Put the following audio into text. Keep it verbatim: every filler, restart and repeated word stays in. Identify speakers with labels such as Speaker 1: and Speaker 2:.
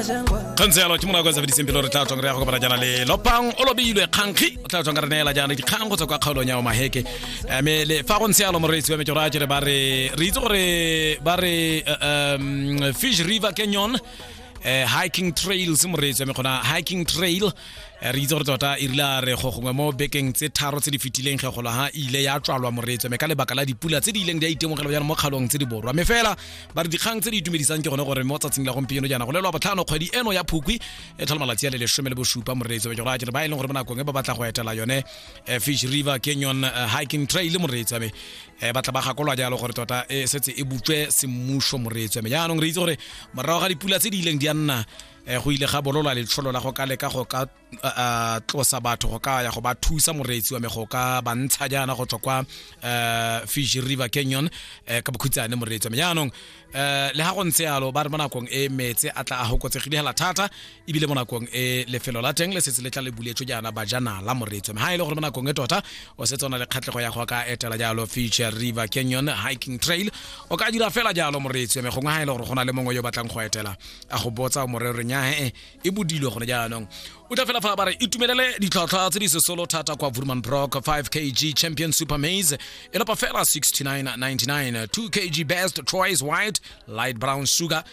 Speaker 1: Kgantse yalo ke monako sa fediseng pele re tla tswang re ya go kopana jaana le Lopang o lobilwe kgankgi o tla tswang ka re neela jaana dikgang go tswa kwa kgaolong ya Omaheke. Mme le fa go ntse yalo, moreetsi wa me, ke gore a kere ba re re itse gore ba re eh, um, Fish River Canyon eh, hiking trails, moreetsi wa me, gona hiking trail eh, re itse gore tota e rile a re go gongwe mo bekeng tse tharo tse di fetileng ge golo ha e ile ya tswalwa, moreetsi wa me, ka lebaka la dipula tse di ileng di a itemogelo jaana mo kgaolong tse di borwa. Mme fela ba re dikgang tse di itumedisang ke gone gore mo tsatsing la gompieno jaana go lelwa botlhano kgwedi eno ya Phukwi e tlhola malatsi a le lesome le bosupa, moreetsi wa me, ke gore a kere ba e leng gore mo nakong e ba batla go etela yone eh, Fish River Canyon eh, hiking trail, moreetsi wa me, eh, ba tla ba gakolwa jalo gore tota e setse e butswe semmuso, moreetsi wa me. Jaanong re itse gore morago ga dipula tse di ileng di a nna eh, go ile ga bololwa letsholo la go ka leka go ka uh, tlosa batho go ka ya go ba thusa, moreetsi wa me, go ka ba ntsha jaana go tswa kwa uh, Fish River Canyon eh, ka bokhutshane, moreetsi wa me. Jaanong eh le ha go ntse yalo, ba re mo nakong e metse a tla a hokotsegile hela thata, ebile mo nakong e lefelo la teng le setse le tla le buletswe jaana bajanala, moreetsi wa me. Ha e le gore mo nakong e tota o setse o na le kgatlhego ya go ka etela jalo Fish River Canyon hiking trail, o ka dira fela jalo, moreetsi wa me. Gongwe ha e le gore go na le mongwe yo batlang go etela a go botsa morero nya e e bodilwe gone jaanong, o tla fela fa ba re itumelele ditlhwatlhwa tse di sesolo thata kwa Woermann Brock. five kilograms Champion Super Maize e lopa fela sixty-nine ninety-nine, two kilograms Best Choice White Light Brown Sugar.